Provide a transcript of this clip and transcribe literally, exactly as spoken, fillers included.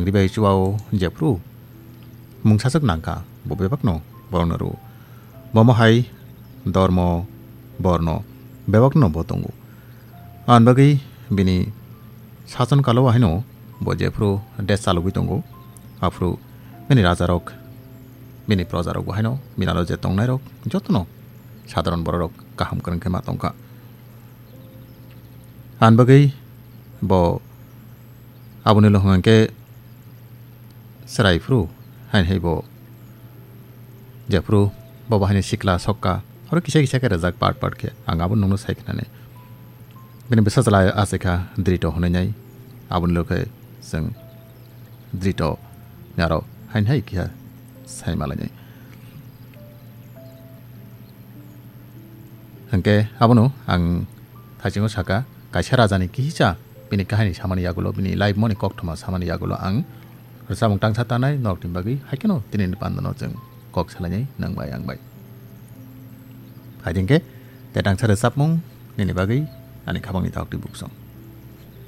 Ribai chuao jephru mungsaswk nangkha, bo bebakno borokno rw. Bomo hai dormo, borno bebakno bo tongo. Ani bagwi bini sason kalo haino bo jephru desh chalogwi tongo, aphru bini rajarok, bini projarok bo haino bini aro je tongnairok jotono sadharon bororok kaham kwrwng khe ma tongkha. Ani bagwi bo aboni lok hwnkhe chwrai phuru, haini hai bo jephuru bo bahai ni sikla sokka, oro kisa kisa khe rwjak part part khe, ang abo nungno sai khnani. Bini bwsa chwla achaikha Drito hwnwi nai, aboni lok khe chwng Drito ni aro haini hai kisa sai malainai. Hwnkhe abono ang thaisingo saka, kaisa rajani kisa bini kahini samani yagulo, bini life moni kokthoma samani yagulo ang rwchapmung tangsa tanai norokni bagwi, haikheno tinini pandano chwng kok salainai nwng bai ang bai. Hai hwnkhe te tangsa rwchapmung nini bagwi ani khabangni daktwi buksong.